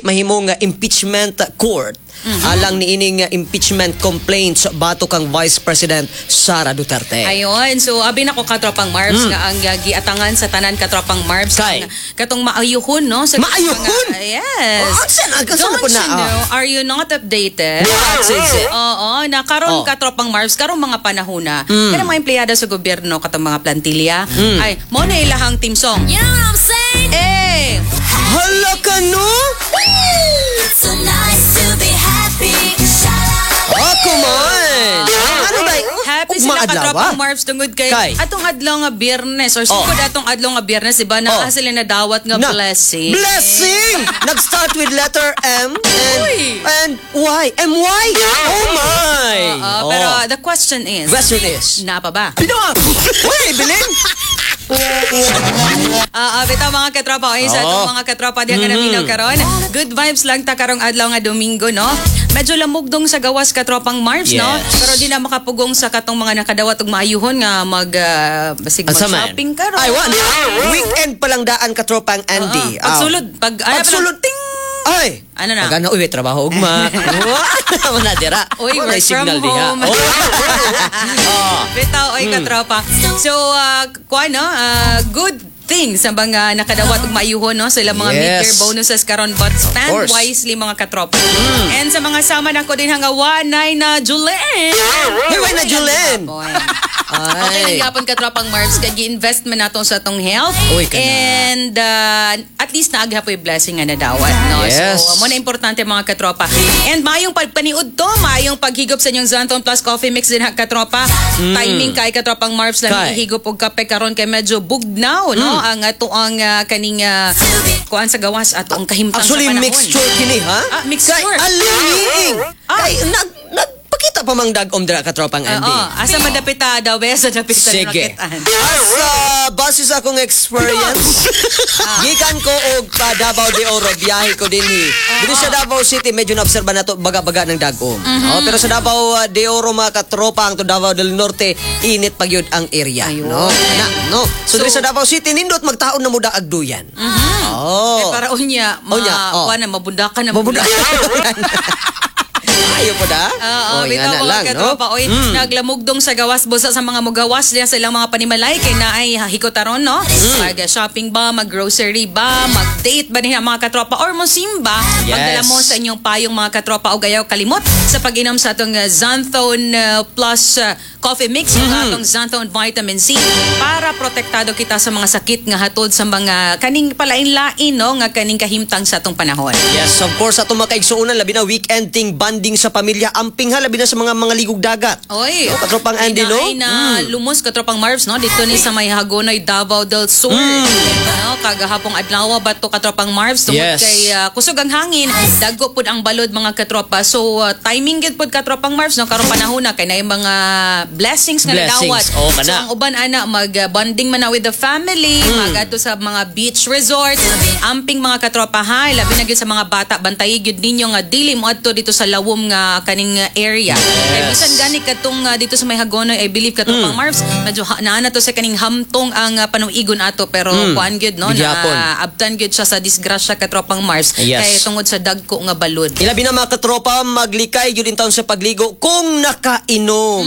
mahimong impeachment court alang niining impeachment complaints batok kang Vice President Sara Duterte. Ayon, so abi nako, katropang Marbs, nga ang giatangan sa tanan, katropang Marbs, Kay? Ang katong maayuhon, no, sa Maayuhon? Yes. Oh, asa na Don't po na, you know? Are you not updated? What is it? Oo, na karon, katropang Marbs, karong mga panahon na. Kanang mga empleyado sa gobyerno, katong mga plantilla, ay mao na ilahang theme song. You know what I'm saying? Eh, Hala ka, no? It's so nice to be happy. Sha-la-la. Ako man! Ano ba? Happy Ugma sila, adlaw, katropang ah? Marbs, tungod kay, Kay? Atong adlaw nga Biyernes or sugod atong adlaw nga Biyernes, diba, naa sila nadawat nga blessing. Blessing! Nag-start with letter M and, Uy! And Y. M-Y? Oh my! Oo, Oh. pero the question is, Question is, naa pa ba? Pino! Uy, bilin! Ah, bitaw, mga katropa, oy, sa atong mga katropa diha nga naminaw karon. Good vibes lang ta karong adlaw nga Domingo, no? Medyo lamog dong sa gawas, katropang Marbs, no? Pero di na makapugong sa katong mga nakadawat og maayuhon nga mag basig Asa man? mag-shopping karon. Ay, wa. Weekend pa lang daan, katropang Andy. Oo. Pagsulod, pag ano, Pagsulod, ting! Ay! Ano na? Pag ano, uy, trabaho ugma. Wala dira. Uy, Wala work from signal diha. home. Oh. Oh. Bitaw, oy, katropa. So, kuan, no? Good thing sa mga nakadawat og maayuhon, no, sa ilang mga mid-year bonuses karon, but spend Of course. Wisely, mga katropa. And sa mga sama nako din hanga wanay na Julen. Hey, way na Julen. Boy. Ay. Okay lang gyapon, katropang Marbs, kay gi-invest man nato sa atong health. Uy, kana. And at least naa gyapoy blessing nga nadawat, no? So mo na importante, mga katropa. And maayong pagpaniud to, maayong paghigop sa inyong Xanthone Plus Coffee Mix din ha, katropa. Timing kay, katropang Marbs, lang Kay. ihigop og kape karon kay medyo bugnaw, no, ang ato ang kaning kuan sa gawas, ato ang kahimtang Actually, sa panahon. mixture kini, ha? Ah, mixture. Kay alinging. Kay, nagpakita pa mang dagom dira, katropang Andy. Oo, asa madapita daw be sa dapita Sige. nakitaan. As base sa akong experience, gikan ko og pa Davao de Oro, biyahe ko dinhi. Dito sa Davao City, medyo naobserba na to baga-baga ng dagom. Oh, pero sa Davao de Oro, mga katropa, ang to Davao del Norte, init pa gyud ang area. Ayun. No? Na, no. So, diri sa Davao City, nindot magtaon na muda agduyan. Oh. Eh, para unya, ma, Unya, oh. kuan na, mabundakan na. Mabunda. Ayo po da. Oo, Oh, bitaw, ingana mga lang, no? katropa. Oy, naglamugdong sa gawas busa sa mga mugawas diya sa ilang mga panimalay kay naay hikotaron, no? Mag-shopping ba, mag-grocery ba, mag-date ba niya, mga katropa, or mosimba? Magdala mo sa inyong payong, mga katropa, og ayaw kalimot sa pag-inom sa atong Xanthone Plus Coffee Mix ug atong Xanthone Vitamin C para protektado kita sa mga sakit nga hatod sa mga kaning palain-lain, no, nga kaning kahimtang sa atong panahon. Yes, of course, atong mga kaigsuonan, labi na weekend ting bonding sa pamilya, amping ha, labi na sa mga ligog dagat. Oy. No, katropang Andy, no? Ay na lumos, katropang Marbs, no? Dito ni sa may Hagonoy, Davao del Sur. No, kagahapong adlaw ba to, katropang Marbs, tungod kay kusog ang hangin, dagko pud ang balod, mga katropa. So timing gid pud, katropang Marbs, no, karong panahon na kay naay mga blessings nga Blessings. nadawat. Oh, kana. So ang uban ana mag bonding man na with the family, magadto sa mga beach resort. Amping, mga katropa, ha, labi na gyud sa mga bata, bantayi gyud ninyo nga dili mo adto dito sa lawom nga kaning area. Kay bisan gani katong dito sa may Hagonoy, I believe, katropang Marbs, medyo naa na to sa kaning hamtong ang panuigon ato, pero kuan gyud, no, Gihapon. na abtan gyud siya sa disgrasya, katropang Marbs, kay tungod sa dagko nga balod. Ilabi na, mga katropa, maglikay yun in taon sa pagligo kung nakainom.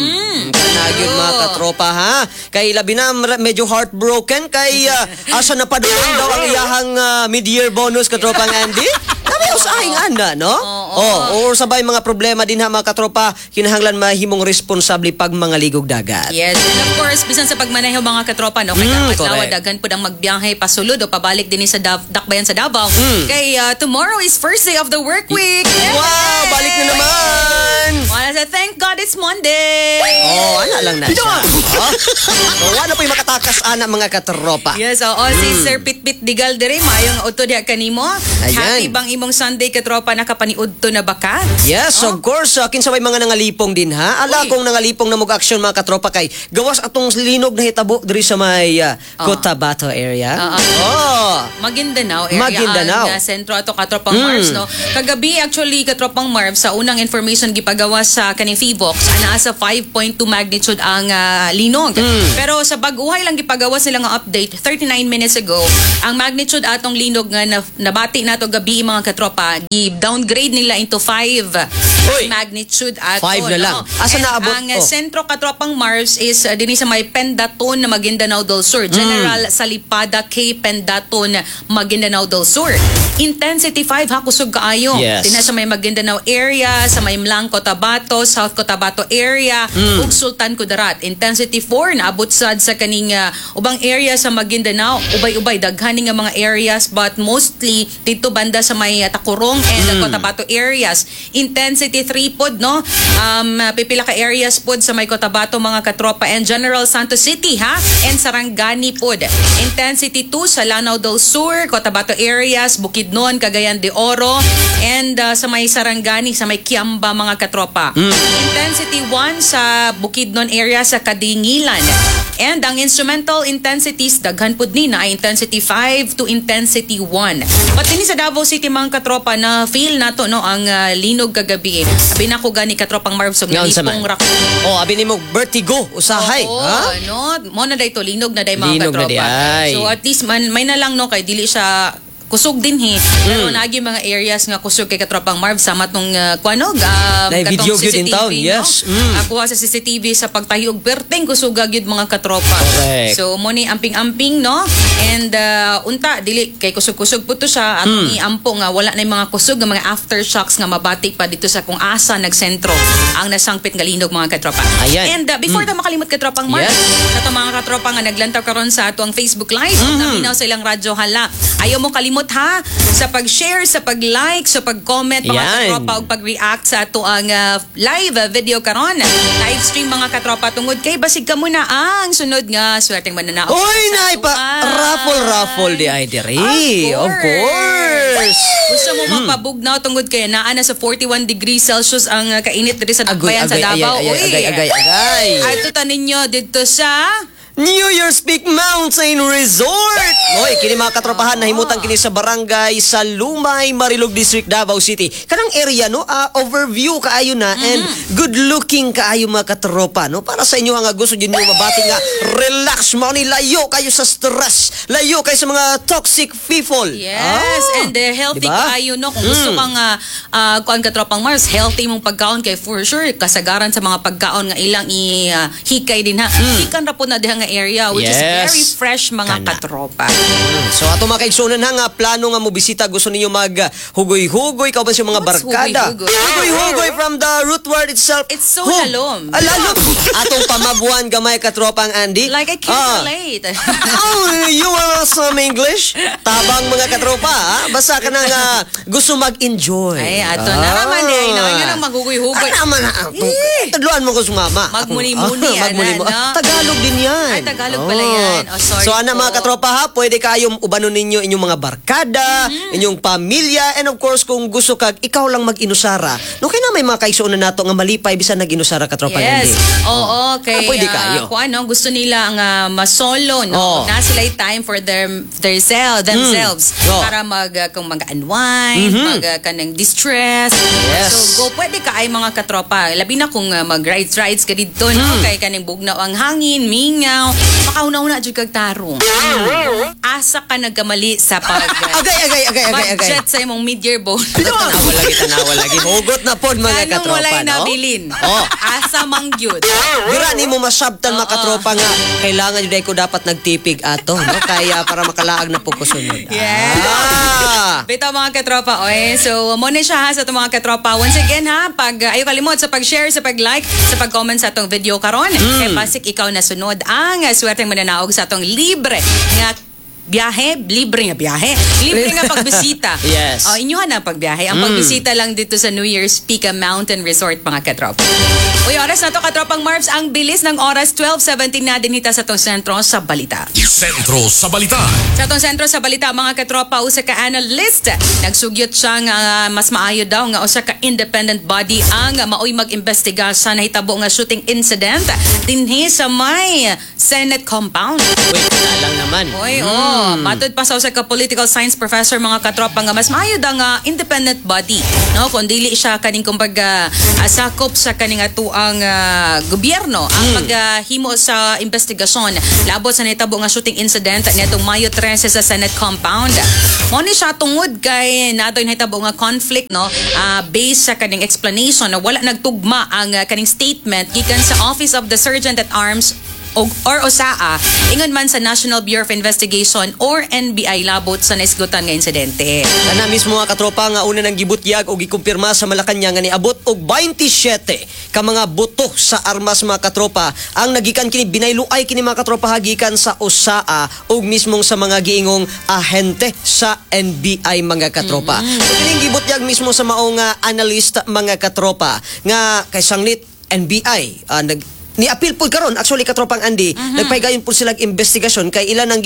Kana gyud, mga katropa, ha. Kay labi na medyo heartbroken kay asa na padulong daw ang iyahang mid-year bonus, katropang Andy. Sabi usahing ana, no? Oo. Oh, or sabay mga problema din ha, mga katropa, kinahanglan mahimong responsable pag mga ligog dagat. Yes, and of course, bisan sa pagmaneho, mga katropa, no, kay adlaw daghan pud ang magbiyahe pasulod o pabalik din sa Dakbayan sa Davao. Kay tomorrow is first day of the work week. Wow, balik na naman. Wala sa thank God it's Monday. Oh, ana lang na siya. Oh. So, wala po'y makatakas ana, mga katropa. Yes, oo. Si Sir Pitpit Digal dire, maayong udto diha kanimo. Ayan. Happy bang imong Sunday, katropa? Nakapaniudto na ba ka? Yes, of course. Kinsa may mga nangalipong din ha. Ala Uy. kung nangalipong na mag action, mga katropa, kay gawas atong linog na hitabo diri sa may Cotabato area. Oh. Maguindanao area Maguindanao. ang sentro ato, katropang Marbs, no? Kagabi actually, katropang Marbs, sa unang information gipag gipagawas sa kaning Phivolcs, naa sa 5.2 magnitude ang linog. Pero sa bag-uhay lang gipagawas nila nga update 39 minutes ago, ang magnitude atong linog nga nabati nato gabi, mga katropa, gi-downgrade nila into 5 Uy! Magnitude ato. 5 na lang. No? Asa And naabot? ang Oh. sentro, katropang Mars, is dinhi sa may Pendaton na Maguindanao del Sur. General Salipada K. Pendaton, Maguindanao del Sur. Intensity 5 ha, kusog kaayo. Dinhi sa may Maguindanao area, sa may M'lang Cotabato, South Cotabato area, ug Sultan Kudarat. Intensity 4 naabot sad sa kaning ubang area sa Maguindanao, ubay-ubay daghan ni nga mga areas but mostly dito banda sa may Tacurong and Cotabato areas. Intensity 3 pod, no? Pipila ka areas pod sa may Cotabato, mga katropa, and General Santos City ha and Sarangani pod. Intensity 2 sa Lanao del Sur, Cotabato areas, Bukidnon, Cagayan de Oro and sa may Sarangani, sa may Kiamba, mga katropa. Intensity 1 sa Bukidnon area sa Kadingilan. And ang instrumental intensities, daghan pud ni na intensity 5 to intensity 1. Pati ni sa Davao City, mga katropa, na feel nato, no, ang linog kagabi. Abi na ko gani, katropang Marvs, og Ngaon sa man. nalipong ra ko. Oh, abi nimo vertigo usahay. Oo, Ha? no? Mo na day to, linog na day, mga Linog na katropa. di ay. So at least man, may na lang, no, kay dili siya kusog din he. Pero naagi mga areas nga kusog kay katropang Marv sama tong kuanog Nay katong video gyud in CCTV, town, no? yes. Nakuha sa CCTV sa pagtahi og perteng kusuga gyud, mga katropa. Correct. So mo ni amping-amping, no? And unta dili kay kusog-kusog po to siya at iampo nga wala na yung mga kusog nga mga aftershocks nga mabati pa dito sa kung asa nagsentro ang nasangpit nga linog, mga katropa. Ayan. And before ta makalimot, katropang Marv, sa ato mga katropa nga naglantaw karon sa ato ang Facebook Live mm naminaw sa ilang radyo hala. Ayaw mo kalimot ha sa pag-share, sa pag-like, sa pag-comment, mga katropa, ug pag-react sa ato ang live video karon. Live stream, mga katropa, tungod kay basig kamo na ang sunod nga swerteng mananaog. Uy, sa nay pa atuan. Raffle raffle di ay diri. Of course. Gusto mo mapabugnaw tungod kay naa na sa 41 degrees Celsius ang kainit diri sa Agoy, Dakbayan sa agay, Davao. agay, Uy. agay, agay, agay. Adto ta ninyo didto sa New Year's Peak Mountain Resort! Hoy, kini mga katropahan, nahimutan kini sa barangay sa Lumay, Marilog District, Davao City. Kanang area, no, overview kaayo na and good looking kaayo, mga katropa, no? Para sa inyo nga gusto jud niyo mabati nga relax mo ni layo kayo sa stress, layo kayo sa mga toxic people. Yes, Ah, and healthy diba? kaayo, no. Kung gusto kang kuan, katropang Mars, healthy mong pagkaon kay for sure kasagaran sa mga pagkaon nga ilang i hikay din ha. Hikan ra po na diha nga area which is very fresh, mga Kana. katropa. So ato mga kaigsunan ha nga plano nga mo bisita, gusto ninyo mag hugoy-hugoy kauban sa mga What's barkada. hugoy-hugoy? Hugoy-hugoy from the root word itself. It's so Hug. lalom. Ah, lalom. Atong pamabuan gamay, katropang Andy. Like I can't relate. Oh, you want some English? Tabang, mga katropa, ha? Basta ka na nga gusto mag-enjoy. Ay, ato na naman di ay na nga nang maghugoy-hugoy. Ay, naman na. Tudluan mo ko sumama. Magmuni-muni, Ah, magmuni-muni. ana, no? Tagalog din yan. Ay, Tagalog pala yan. Oh, sorry So, ana po. mga katropa ha, pwede kayong ubanon ninyo inyong mga barkada, inyong pamilya, and of course, kung gusto kag ikaw lang mag-inusara. No, kaya na may mga kaigsuonan nato nga malipay bisan nag-inusara, katropa. Yes. Andy. Oo, kay Ah, pwede kayo. Kung ano, gusto nila ang masolo, no? Na sila time for their self, themselves para mag kung mag-unwind, mag kanang distress. So go, pwede ka ay mga katropa. Labi na kung mag-rides rides ka didto, no? Kay kaning bugnaw ang hangin, mingaw, makahuna-huna jud kag tarong. Asa ka nagkamali sa pag Agay, agay, agay, agay, agay. budget sa imong mid-year bonus. Tanawa lagi, tanawa lagi. Hugot na pod, mga Anong katropa, walay no? nabilin? Oh. Asa mang gyud. Dira ni mo masabtan, mga katropa, nga kailangan jud ko dapat nagtipig ato, no, kaya para makalaag na po ko sunod. Yes. Ah. Bitaw, mga katropa, oy. So, mo na siya ha sa atong mga katropa. Once again ha, pag ayo kalimot sa pag-share, sa pag-like, sa pag-comment sa atong video karon. Kay pasik ikaw na sunod ang swerteng mananaog sa atong libre nga biyahe, libre nga biyahe, libre nga pagbisita. Oh, inyuhan na pagbiyahe. Ang pagbisita lang dito sa New Year's Peak Mountain Resort, mga katropa. Uy, oras na to, katropang Marbs. Ang bilis ng oras, 12:17 na din hita sa atong sentro sa balita. Sentro sa Balita. Sa atong sentro sa balita, mga katropa, usa ka analyst nagsugyot siya nga mas maayo daw nga usa ka independent body ang maoy mag-imbestiga sa nahitabo nga shooting incident dinhi sa may Senate compound. Wait, Lang naman. Oy, oh, matod pa sa usa ka political science professor, mga katropa, nga mas maayo da nga independent body, no, kung dili siya kaning kumbaga sakop sa kaning atuang gobyerno ang paghimo sa investigasyon labot sa nitabo nga shooting incident niadtong Mayo 13 sa Senate compound. Mo ni siya tungod kay natoy nahitabo nga conflict, no, based sa kaning explanation na wala nagtugma ang kaning statement gikan sa Office of the Sergeant at Arms or OSAA ingon man sa National Bureau of Investigation or NBI labot sa naisgutan nga insidente. Kana mismo, mga katropa, nga una nang gibutyag o gikumpirma sa Malacañang nga niabot og 27 ka mga buto sa armas, mga katropa, ang nagikan kini, binayluay kini, mga katropa, hagikan sa OSAA ug mismong sa mga giingong ahente sa NBI, mga katropa. So kining gibutyag mismo sa maong analyst, mga katropa, nga kay sanglit NBI nag ni-appeal po karon actually, katropang Andy, nagpaygayon po sila investigasyon kay ilan ang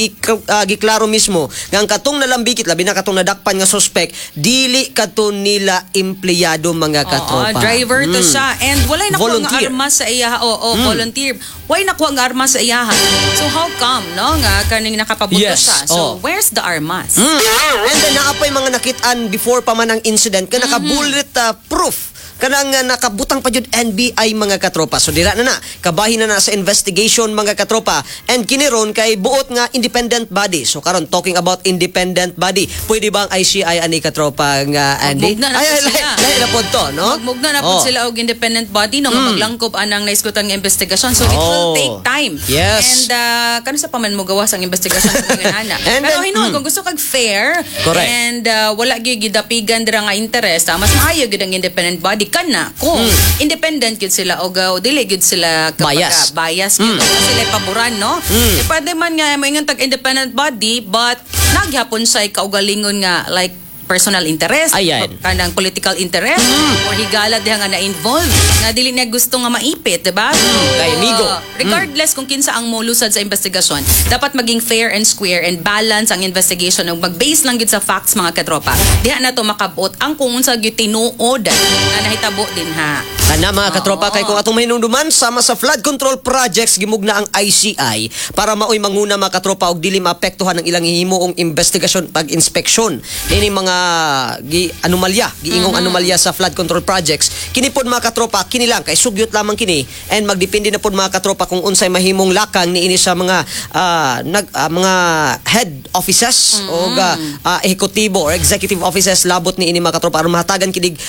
giklaro mismo nga ang katong nalambikit, labi na katong nadakpan nga suspect, dili kadto nila empleyado, mga katropa. Oo, driver to siya. And walay nakuha nga Volunteer. armas sa iyaha. Oo, volunteer. Walay nakuha nga armas sa iyaha. So how come, no, nga kaning nakapabuto siya? So where's the armas? And then naa pay mga nakitaan before pa man ang incident ka naka-bullet proof kanang nakabutang pa jud NBI, mga katropa. So dira na na, kabahin na na sa investigation, mga katropa. And kini ron kay buot nga independent body. So karon, talking about independent body, pwede ba ang ICI ani, katropa nga Andy? Magmugna na Ay, po ay, sila. Lahi na pod to, no? Magmugna na po sila og independent body, no, nga maglangkob anang naisgutan nga investigasyon. So it will take time. And kano sa pa man mo gawas ang investigasyon sa mga ana. And Pero then, hinuon kung gusto kag fair Correct. and wala gyud gidapigan dira nga interest, mas maayo gyud ang independent body kana kung independent gyud sila og dili gyud sila kapag, Bias. Bias gyud mm. sila paboran, no? Eh, pwede man nga moingon tag independent body but nagyapon siya kaugalingon nga like personal interest, Ayan. Kanang political interest or higala diha nga na-involve nga dili niya gusto nga maipit, diba? So, Kay amigo. Regardless kung kinsa ang molusad sa investigasyon, dapat maging fair and square and balance ang investigation ug mag-base lang gyud sa facts, mga katropa. Diha na to makabot ang kung unsa gyud tinuod nga nahitabo dinha. Kana, mga katropa, kay kung atong mahinumduman, sama sa flood control projects, gimugna ang ICI para maoy manguna, mga katropa, og dili maapektuhan ang ilang himuong investigasyon pag-inspeksyon niini mga gi anomalya, giingong anomalya sa flood control projects. Kini pod, mga katropa, kini lang kay sugyot lamang kini and magdepende na pod, mga katropa, kung unsay mahimong lakang niini sa mga nag mga head offices o ehekutibo or executive offices labot niini, mga katropa, aron mahatagan kinig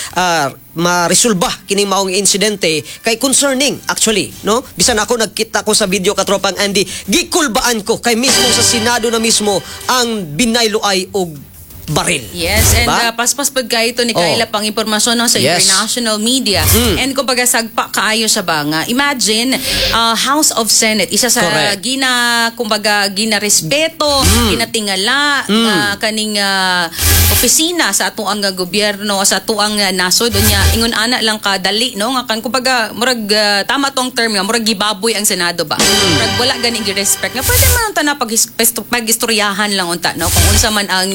maresolba kining maong insidente kay concerning actually, no? Bisan ako, nagkita ko sa video, katropang Andy, gikulbaan ko kay mismo sa Senado na mismo ang binayloay og baril. Yes, and Diba? Paspas pud kayo ito ni Kayla pang impormasyon, no, sa international media. And kumbaga sagpa kaayo siya ba nga. Imagine, House of Senate, isa sa gina kumbaga gina-respeto, ginatingala nga kaning opisina sa atuang nga gobyerno, sa atuang nasod, unya ingon ana lang kadali, no, nga kan kumbaga murag tama tong term nga murag gibaboy ang Senado ba. Murag wala gani gi-respect nga pwede man unta na pag-istoryahan lang unta, no, kung unsa man ang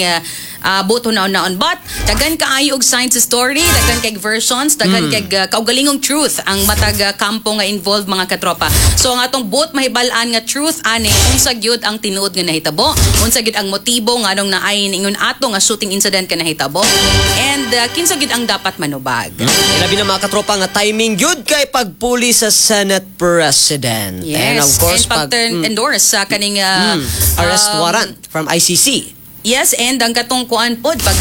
buto na naon, but daghan kaayo og science story, daghan kay versions, daghan kay kaugalingong truth ang matag kampo nga involved, mga katropa. So ang atong buot mahibal-an nga truth ani, unsa gyud ang tinuod nga nahitabo, unsa gyud ang motibo nganong naay ingon ato nga shooting incident ka nahitabo, and kinsa gyud ang dapat manubag. Labi na, mga katropa, nga timing gyud kay pagpuli sa Senate President. Yes, And of course, and pag-turn endorse sa kaning arrest warrant from ICC. Yes, and ang katong kuan pod pag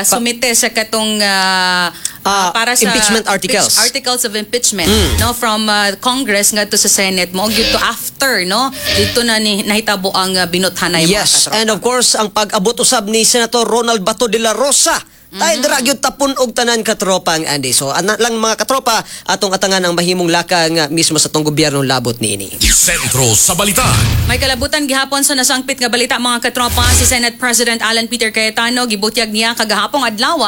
sumite sa katong para sa impeachment articles. Articles of impeachment, no, from Congress ngadto sa Senate mo gyud to after, no, dito na ni nahitabo ang binuthanay, mga Yes, katropa. and of course, ang pag-abot usab ni Senator Ronald Bato de la Rosa. Tayo dira gyud tapon og tanan, katropang Andy. So ana lang, mga katropa, atong atangan ang mahimong lakang mismo sa tong gobyerno labot niini. Sentro sa Balita. May kalabutan gihapon sa nasangpit nga balita, mga katropa. Si Senate President Alan Peter Cayetano, gibutyag niya kagahapong adlaw,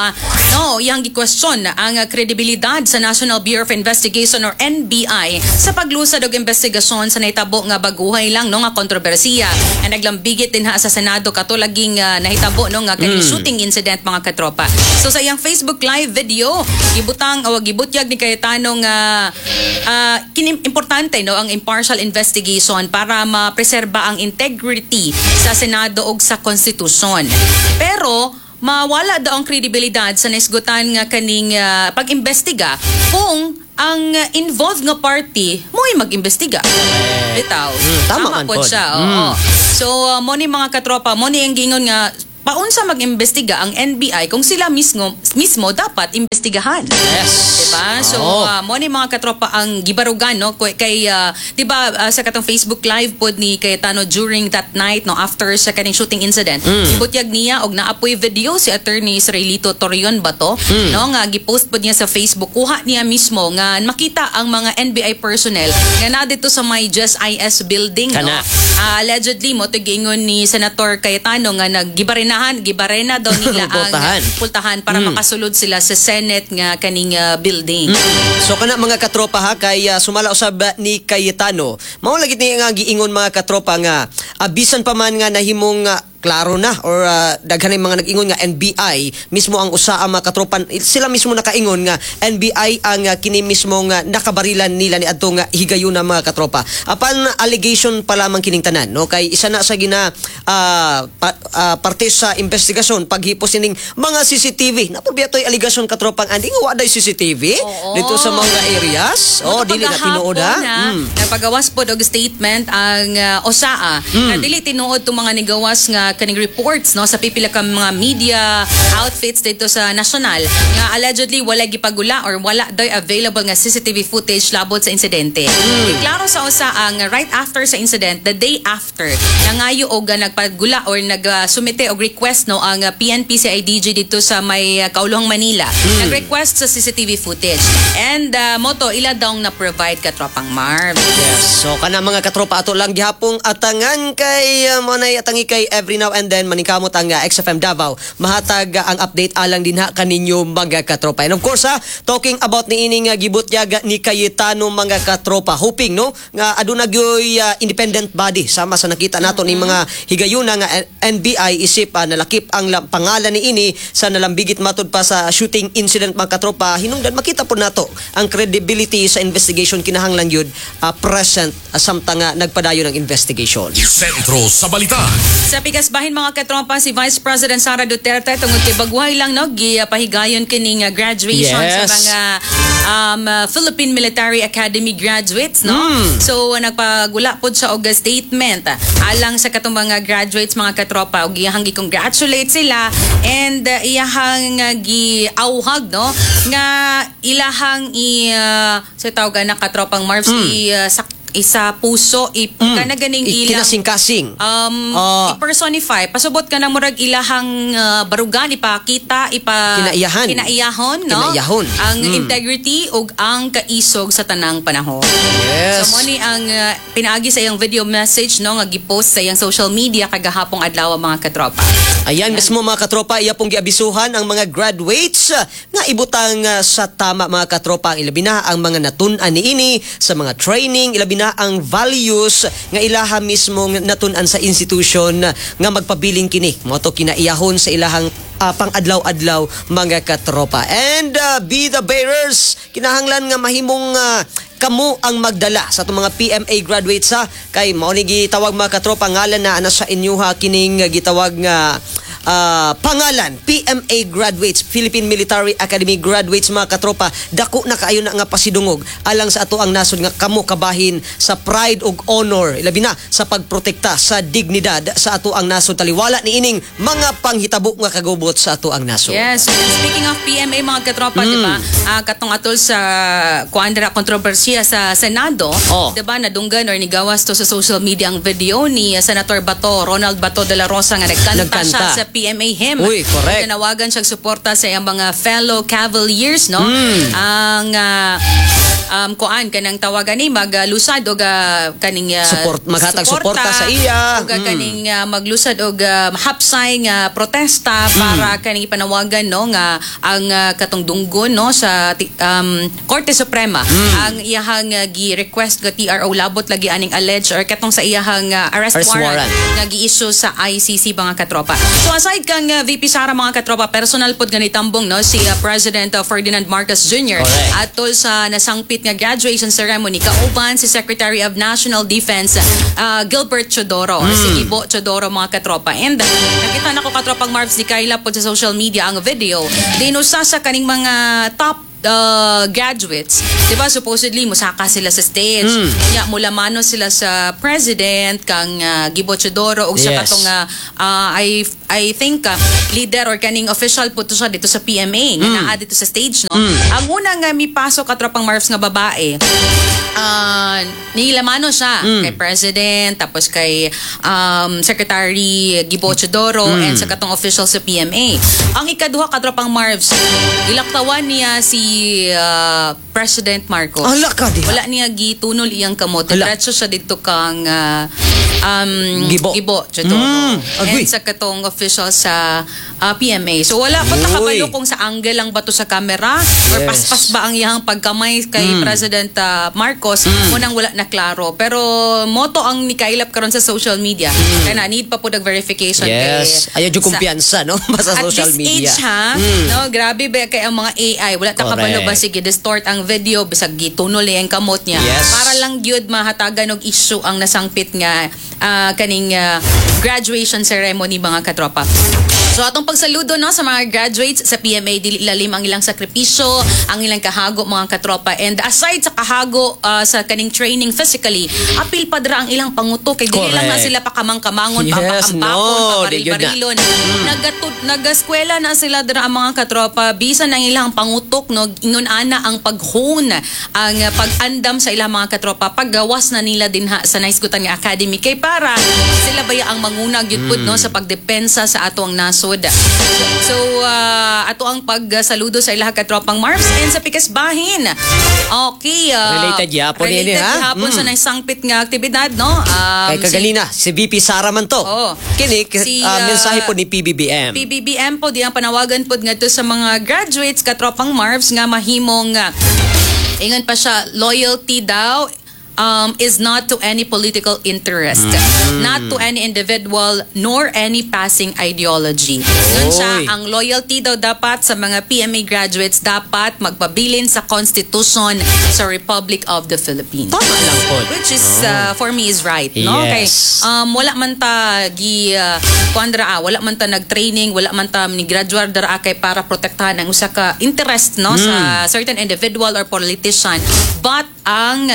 no, iyang gikwestiyon ang kredibilidad sa National Bureau of Investigation or NBI sa paglusad og investigasyon sa nahitabo nga baguhay lang, no, nga kontrobersiya nga naglambigit dinha sa Senado katulaging nahitabo, no, nga kaning shooting incident, mga katropa. So sa iyang Facebook Live video, gibutang o gibutyag ni Cayetano nga importante, no, ang impartial investigation para mapreserba ang integrity sa Senado ug sa konstitusyon. Pero mawala daw ang kredibilidad sa naisgutan nga kaning pag-imbestiga kung ang involved nga party mo'y mag-imbestiga. Bitaw. Tama man pod pod. Siya. Oo. So mo ni, mga katropa, mo ni ang giingon nga paunsa mag-imbestiga ang NBI kung sila mismo mismo dapat imbestigahan. Diba? So, mo ni, mga katropa, ang gibarugan, no, kay 'di ba, sa katong Facebook Live pod ni Cayetano during that night, no, after sa kaning shooting incident. Butyag niya og naapoy video si Attorney Israelito Torreon ba to, no, nga gipost pod niya sa Facebook. Kuha niya mismo nga makita ang mga NBI personnel nga naa dito sa may GSIS building, no. Kana. Allegedly mo to giingon ni Senator Cayetano nga naggibarinahan, gibarena daw nila ang Pultahan. Pultahan para makasulod sila sa Senate nga kaning building. So kana, mga katropa, ha, kay sumala usab ni Cayetano. Mao lagi ni nga giingon, mga katropa, nga bisan pa man nga nahimong klaro na or daghan ng mga nag-ingon nga NBI mismo ang usa ang mga katropa, sila mismo nakaingon nga NBI ang kini mismo nga nakabarilan nila ni adto nga higayuna, mga katropa. Apan allegation pa lamang kining tanan, no, kay isa na sa gina parte sa investigasyon paghipos ining mga CCTV. Napubiya to'y allegation, katropang Andy, nga wa day CCTV dito sa mga areas. Oh, dili na tinuod ha. Na, nagpagawas pod og statement ang OSAA na dili tinuod tong mga nigawas nga kaning reports, no, sa pipila ka mga media outfits dito sa national nga allegedly wala gipagula or wala daw available nga CCTV footage labot sa insidente. Klaro sa OSAA nga right after sa incident, the day after, nangayo og nagpagula or nagsumite og request, no, ang PNP CIDG dito sa may Kauluhang Manila. Nag-request sa CCTV footage. And moto ila daw na provide, katropang Marv. Yes. So kana, mga katropa, ato lang gihapong atangan kay mo nay atangi kay every now and then maningkamot ang XFM Davao mahatag ang update alang dinha kaninyo, mga katropa. And of course ha, talking about ni ining gibutyag ni Cayetano, mga katropa, hoping, no, nga aduna gyoy independent body sama sa nakita nato ni mga higayuna nga NBI isip nalakip ang pangalan ni ini sa nalambigit matud pa sa shooting incident, mga katropa. Hinungdan makita po nato ang credibility sa investigation, kinahanglan yun present samtang nga nagpadayon ang investigation. Sentro sa Balita. Sa pikas bahin, mga katropa, si Vice President Sara Duterte, tungod kay baguhay lang, no, gipahigayon kining graduation sa mga Philippine Military Academy graduates, no. So nagpagula pod siya og statement alang sa katong mga graduates, mga katropa, ug iyahang gi-congratulate sila and iyahang giauhag, no, nga ilahang i sa tawag na, katropang Marvs, i isa puso i kana ganing ilang Kinasing-kasing. I-personify, pasubot ka na murag ilahang barugan, ipakita, ipa Kinaiyahan. Kinaiyahon, no, Kinaiyahon. ang integrity ug ang kaisog sa tanang panahon. So mo ni ang pinaagi sa iyang video message, no, nga gipost sa iyang social media kagahapong adlaw, mga katropa. Ayan mismo, mga katropa, iya pong giabisuhan ang mga graduates nga ibutang sa tama, mga katropa, ang ilabi na ang mga natun-an niini sa mga training, ilabi na ang values nga ilaha mismo natun-an sa institution nga magpabiling kini. Mo to kinaiyahon sa ilahang pang-adlaw-adlaw, mga katropa. And be the bearers. Kinahanglan nga mahimong kamo ang magdala sa atong mga PMA graduates ha, kay mao ni gitawag, mga katropa, ngalan na ana sa inyuha kining gitawag nga pangalan PMA graduates, Philippine Military Academy graduates, mga katropa. Dako na kaayo na nga pasidungog alang sa ato ang nasod nga kamo kabahin sa pride ug honor, ilabi na sa pagprotekta sa dignidad sa ato ang nasod, taliwala ni ining mga panghitabo nga kagubot sa ato ang nasod. Yes. Speaking of PMA, mga katropa, di ba? Katong atol sa kuan dira, kontrobersiya sa Senado, di ba? Nadunggan or nigawas to sa social media ang video ni Senator Bato, Ronald Bato de la Rosa, nga nagkanta Nagkanta. siya sa PMA hymn. Uy, correct. Nanawagan siya suporta sa iyang mga fellow Cavaliers, no? Ang kuan kanang tawagan ni maglusad og kaning Support, maghatag suporta sa iya. ug kaning maglusad og hapsay nga protesta para kaning ipanawagan, no, nga ang katong dunggon, no, sa Korte Suprema ang iyahang gi-request nga TRO labot lagi aning alleged or katong sa iyahang arrest, Arrest warrant, warrant. nga gi-issue sa ICC, mga katropa. So aside kang VP Sara, mga katropa, personal pod nga nitambong, no, si President Ferdinand Marcos Jr. Atol sa nasangpit nga graduation ceremony kauban si Secretary of National Defense Gilbert Teodoro or si Gibo Teodoro, mga katropa. And nakita nako, katropang Marvs, ni Kayla pod sa social media ang video. Dinusa sa kaning mga top graduates, 'di ba, supposedly musaka sila sa stage. Nya mulamano sila sa president kang Gibo Teodoro ug sa katong I think leader or kaning official po to siya dito sa PMA nga naa dito sa stage, no. Ang una nga mipasok, katropang Marvs, nga babae, nilamano siya kay president, tapos kay Secretary Gibo Teodoro and sa katong official sa PMA. Ang ikaduha, katropang Marvs, gilaktawan niya si President Marcos. Ala ka diha. Wala niya gitunol iyang kamot. Hala. Diretso siya dito kang Gibo. Gibo Teodoro. Agoy. And sa katong official sa PMA. So wala pa Uy. nakabalo kung sa angle lang ba to sa camera or paspas ba ang iyang pagkamay kay President Marcos, munang wala na klaro. Pero mao to ang nikailap karon sa social media. Kaya na need pa po og verification kay Ayaw yung kumpiyansa, no? Basta at social this media. age ha, no, grabe ba kay ang mga AI, wala ta kabalo ba sige distort ang video bisag gitunol ang kamot niya. Para lang gyud mahatagan og issue ang nasangpit nga kaning graduation ceremony, mga katropa. So atong pagsaludo, no, sa mga graduates sa PMA, dili lalim ang ilang sakripisyo, ang ilang kahago, mga katropa. And aside sa kahago sa kaning training physically, apil pa dira ang ilang pangutok kay dili lang na sila pakamang-kamangon, papakampakon, No, di gyud na. pabaril-barilon. Nagaskwela na sila dira ang mga katropa bisan ang ilang pangutok, no, ingon ana ang paghone, ang pag-andam sa ilang mga katropa paggawas na nila dinha sa nahisgutan nga academy kay para sila baya ang manguna gyud pud, no, sa pagdepensa sa ato ang nasod. So ato ang pagsaludo sa ilang katropang Marvs and sa pikas bahin. Okay, Related yapon related ini, ha? gihapon sa naisangpit nga aktibidad, no? Kay kaganina, si VP Sara man to. Oo. Kini, Si, mensahe po ni PBBM. PBBM po di ang panawagan pod ngadto sa mga graduates, katropang Marvs, nga mahimong ingon pa siya, loyalty daw is not to any political interest, not to any individual, nor any passing ideology. Ingon siya, Oy. ang loyalty daw dapat sa mga PMA graduates dapat magpabilin sa Constitution sa Republic of the Philippines. Tama lang po. Which is, for me, is right, no? Kay wala man ta gi kuan dira, wala man ta nag-training, wala man ta ni graduate dira kay para protektahan ang usa ka interest, no, sa certain individual or politician, but ang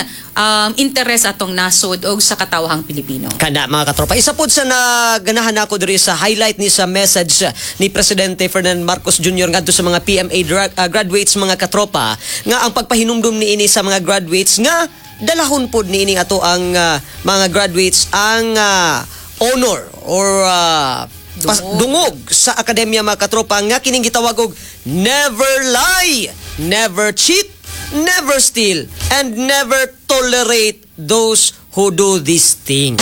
interest atong nasod og sa katawhang Pilipino. Kana, mga katropa. Isa pod sa naganahan ako diri sa highlight ni sa message ni Presidente Ferdinand Marcos Jr. ngadto sa mga PMA graduates, mga katropa, nga ang pagpahinumdum niini sa mga graduates nga dalahon pod niini ato ang mga graduates ang honor or dungog sa akademya, mga katropa, nga kining gitawag og never lie, never cheat, never steal, and never tolerate those who do these things.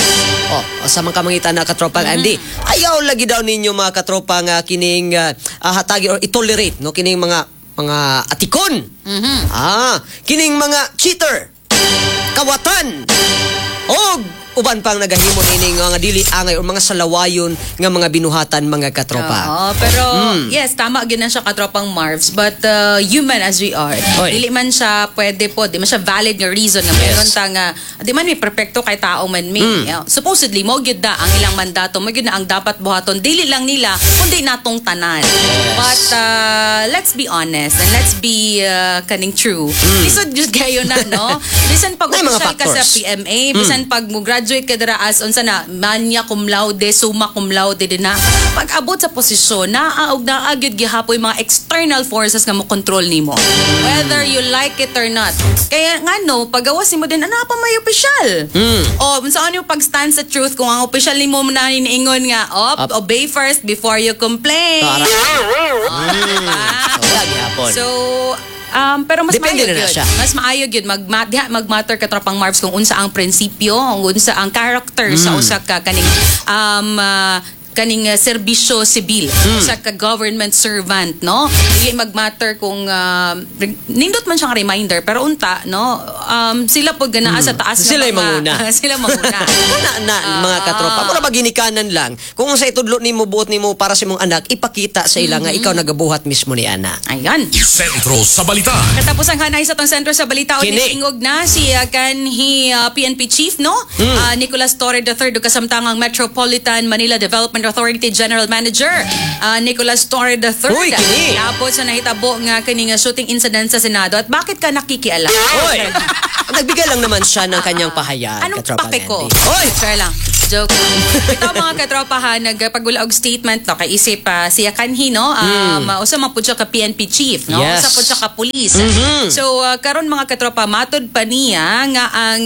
Oh, sa mga kamangita na katropang Andy, ayaw lagi daw ninyo, mga katropa, nga kining hatagi or itolerate, no, kining mga atikon. Kining mga cheater, kawatan, og uban pang nagahimo nining mga dili angay o mga salawayon nga mga binuhatan, mga katropa. Oo, pero yes, tama gyud na siya, katropang Marvs, but human as we are, Oy. dili man siya pwede po, di man siya valid nga reason nga meron ta nga di man may perpekto kay tao man may. Supposedly mo gyud na ang ilang mandato, mo gyud na ang dapat buhaton, dili lang nila kundi natong tanan. But let's be honest and let's be kaning true. Lisod gyud kayo na, no? Bisan pag May mga official ka sa factors. PMA, bisan pag mo graduate ka dira as unsa na, magna cum laude, summa cum laude din na. Pag abot sa posisyon, naa og naa gyud gihapoy mga external forces nga mo control nimo. Whether you like it or not. Kaya nga no, pagawas nimo din, ano pa may opisyal? O, unsa yung pag-stand sa truth kung ang opisyal nimo na niingon nga, op, Up. obey first before you complain. Tara. Diba? So, wala gihapon. So, pero mas Depende maayo na na gyud. siya. Mas maayo gyud mag diha magmatter, katropang Marbs, kung unsa ang prinsipyo, kung unsa ang character sa usa ka kaning serbisyo sibil, usa ka government servant, no? Dili magmatter kung nindot man siyang reminder, pero unta no, sila pud ganaa sa taas nga Sila yung manguna. Sila manguna. Na, na, mga katropa. Mura ba ginikanan lang. Kung sa itudlo nimo, buot nimo para sa imong anak, ipakita sa ila nga ikaw nagabuhat mismo ni ana. Ayan. Sentro sa Balita. Katapos ang hanay sa tong Sentro sa Balita o Kini. niingog na si kanhi PNP Chief, no? Nicolas Torre III ug kasamtangang Metropolitan Manila Development Authority General Manager Nicolas Torre III. Uy, kini. Tapos sa nahitabo nga kini nga shooting incident sa Senado, at bakit ka nakikialam? Oy! Nagbigay lang naman siya ng kanyang pahayag, Anong katropa pake ko? Andy. Oy! Sure lang. Joke lang. Ito, mga katropa ha, nagpagula og statement no kay isip siya kanhi no, usa man pud siya ka PNP chief, no? Yes. Usa pud siya ka police. So karon, mga katropa, matud pa niya nga ang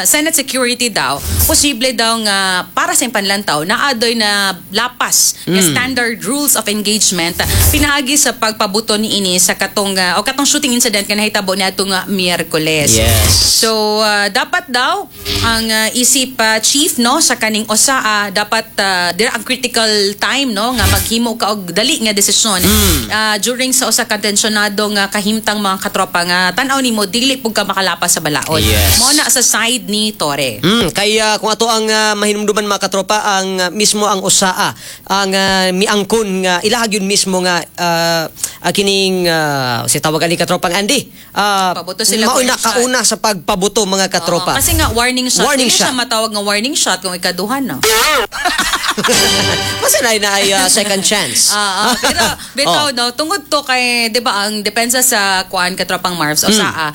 Senate security daw, posible daw nga para sa panlantaw na adoy na lapas nga standard rules of engagement pinaagi sa pagpabuto ni ini sa katong o katong shooting incident nga nahitabo niadtong Miyerkules. So dapat daw ang isip chief no sa kaning OSAA, dapat dira ang critical time no nga maghimo ka og dali nga desisyon during sa usa ka tensyonado nga kahimtang, mga katropa, nga tan-aw nimo dili pud ka makalapas sa balaod. Mo na sa side ni Torre. Kaya kung ato ang mahinumduman, mga katropa, ang mismo ang OSAA ang miangkon nga ilahag yun mismo nga kining si tawagan ni katropang Andy. Pabuto sila mauna warning shot. Kauna sa pagpabuto, mga katropa. Oo, kasi nga warning shot. Warning Dili siya shot. matawag nga warning shot kung ikaduha no. Basta na ay second chance. Ah, ah, pero bitaw no, tungod to kay 'di ba ang depensa sa kuan, katropang Marbs, o sa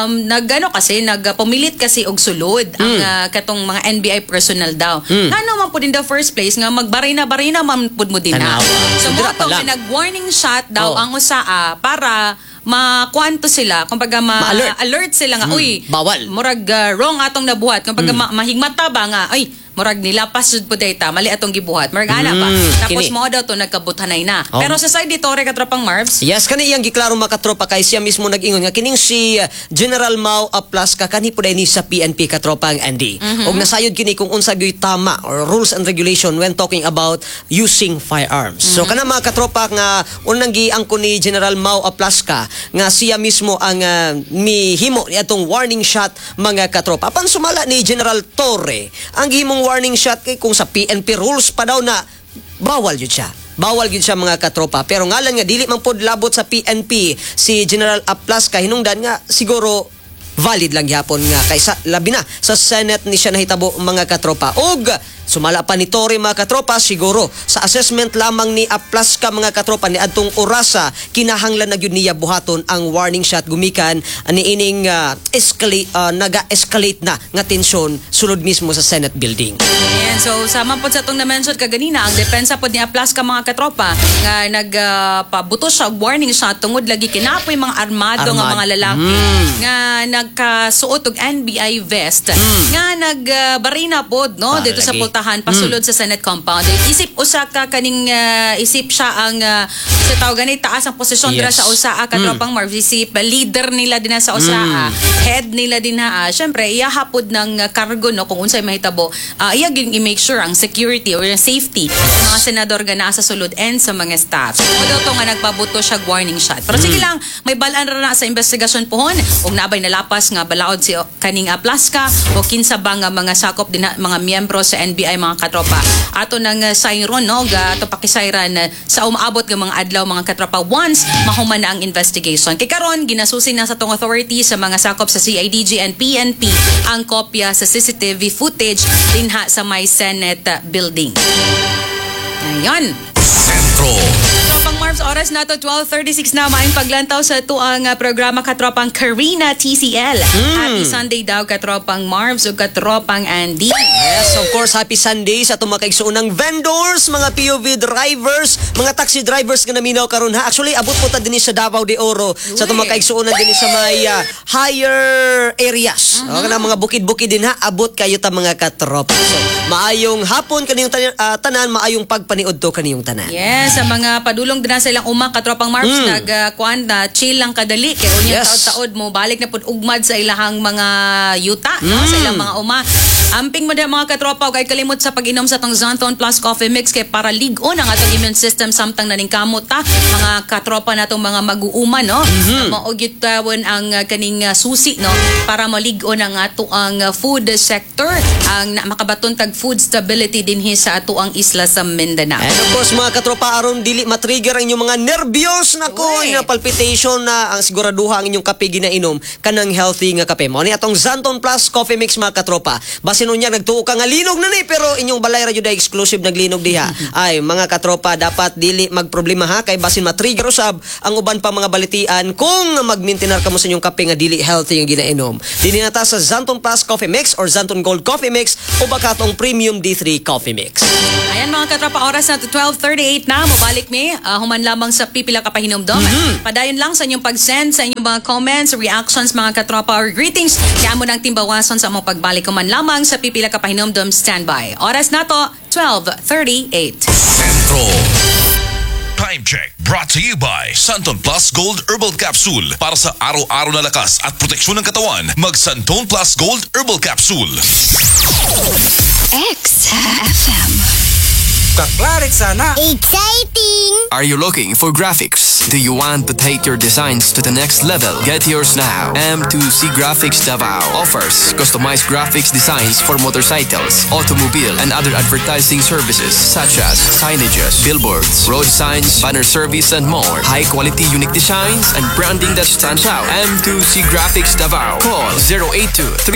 nagano kasi nagpumilit kasi og sulod ang katong mga NBI personnel daw. Ngano man pud in the first place nga magbarina-barina man pud mo din na. Tanawa. So mo Dira pa to lang. nag-warning shot daw Oh. ang OSAA para makuanto sila, kumbaga ma Ma-alert. alert sila nga, uy, Bawal. Murag wrong atong nabuhat. Kumbaga mahigmata ba nga, ay, murag nilapas jud po data, mali atong gibuhat. Murag ana ba. Tapos Kini. mo daw to nagkabuthanay na. Oh. Pero sa side ni Torre, katropang Marbs, Yes, kani iyang giklaro, mga katropa, kay siya mismo nag-ingon nga kining si General Mao Aplasca kanhi pud ni sa PNP, katropang Andy. Og nasayod kini kung unsa gyud tama or rules and regulation when talking about using firearms. So kana, mga katropa, nga unang giangkon ni General Mao Aplasca nga siya mismo ang mihimo ni atong warning shot, mga katropa. Apan sumala ni General Torre, ang gihimong warning shot kay kung sa PNP rules pa daw na bawal yun siya. Bawal gyud siya, mga katropa. Pero ngalan nga dili man pod labot sa PNP si General Aplasca, hinungdan nga siguro valid lang gyapon nga kay sa labi na sa Senate ni siya nahitabo, mga katropa. Og sumala pa ni Torre, mga katropa, siguro sa assessment lamang ni Aplasca, mga katropa, ni adtong orasa kinahanglan na gyud niya buhaton ang warning shot gumikan niining escalate naga-escalate na nga tensyon sulod mismo sa Senate building. Ayan, so sama po sa itong na-mention kaganina, ang depensa po ni Aplasca, mga katropa, nga nagpabuto siya og warning shot tungod lagi kinapoy mga armado nga mga lalaki nga nagkasuot og NBI vest nga nagbarina pod no Para dito sa lagi. pultahan pasulod sa Senate compound. Isip usa ka kaning isip siya ang sa tawag gani taas ang posisyon dira sa OSAA, katropang Marv, isip leader nila din sa OSAA, head nila din ha. Syempre iya pod ng kargo no kung unsay mahitabo, iya gyud i-make sure ang security or yung safety sa mga senador nga naa sa sulod and sa mga staff. So daw to nga nagpabuto siya og warning shot. Pero sige lang, may balaan ra na sa investigasyon pohon ug naabay nalapas nga balaod si kaning Aplasca o kinsa ba nga mga sakop din na, mga miyembro sa NBI, mga katropa. Ato nang sayron no ga ato pakisayran sa umaabot nga mga adlaw, mga katropa, once mahuman na ang investigation. Kay karon ginasusi na sa tong authority sa mga sakop sa CIDG and PNP ang kopya sa CCTV footage dinha sa may Senate building. Ayan. Sentro. Tropang Marbs, oras Oras nato 12:36 na. Maayong paglantaw sa atuang programa, katropang Karina TCL. Happy Sunday daw, katropang Marvs ug katropang Andy. Yes, of course, happy Sunday sa atong mga kaigsuonang vendors, mga POV drivers, mga taxi drivers nga naminaw karon ha. Actually, abot po ta dinhi sa Davao de Oro sa atong mga kaigsuonan dinhi sa may higher areas. Okay na mga bukid-bukid din ha, abot kayo ta, mga katropa. So, maayong hapon kaniyong tanan, maayong pagpaniud to kaniyong tanan. Yes, sa mga padulong din sa ilang uma, katropang Marvs, nag kuan na chill lang kadali kay unya taod-taod mo balik na pud ugmad sa ilahang mga yuta, no, sa ilang mga uma. Amping mo mga katropa ug ay kalimot sa pag-inom sa tong Xanthone Plus Coffee Mix kay para lig-on ang atong immune system samtang naningkamot ta, mga katropa natong mga mag-uuma, no. Mao gyud tawon ang kaning susi, no, para malig-on ang ato ang food sector ang na, makabaton tag food stability dinhi sa ato ang isla sa Mindanao. And of course, mga katropa, aron dili matrigger ang inyong mga nervyos nako, Uy. ang palpitation na ang siguraduha ang inyong kape ginainom kanang healthy nga kape. Mao ni atong Xanthone Plus Coffee Mix, mga katropa. Basin unya nagtuo ka nga linog na ni pero inyong balay ra jud ay exclusive naglinog diha. Ay, mga katropa, dapat dili magproblema ha kay basin matrigger usab ang uban pa mga balitian kung magmintinar kamo sa inyong kape nga dili healthy ang ginainom. Dinhi na ta sa Xanthone Plus Coffee Mix or Xanthone Gold Coffee Mix o baka atong Premium D3 Coffee Mix. Ayan, mga katropa, oras na 12:38 na. Mobalik mi human lamang sa pipila ka pahinumdom. Padayon lang sa inyong pag-send sa inyong mga comments, reactions, mga katropa, or greetings. Kaya mo nang timbawason sa among pagbalik human lamang sa pipila ka pahinumdom. Standby. Oras na to, 12:38. Sentro. Time Check brought to you by Xanthone Plus Gold Herbal Capsule. Para sa araw-araw na lakas at proteksyon ng katawan, mag Xanthone Plus Gold Herbal Capsule. XFM. Kaklarik sana. Exciting! Are you looking for graphics? Do you want to take your designs to the next level? Get yours now. M2C Graphics Davao offers customized graphics designs for motorcycles, automobile, and other advertising services such as signages, billboards, road signs, banner service, and more. High quality, unique designs and branding that stands out. M2C Graphics Davao. Call 082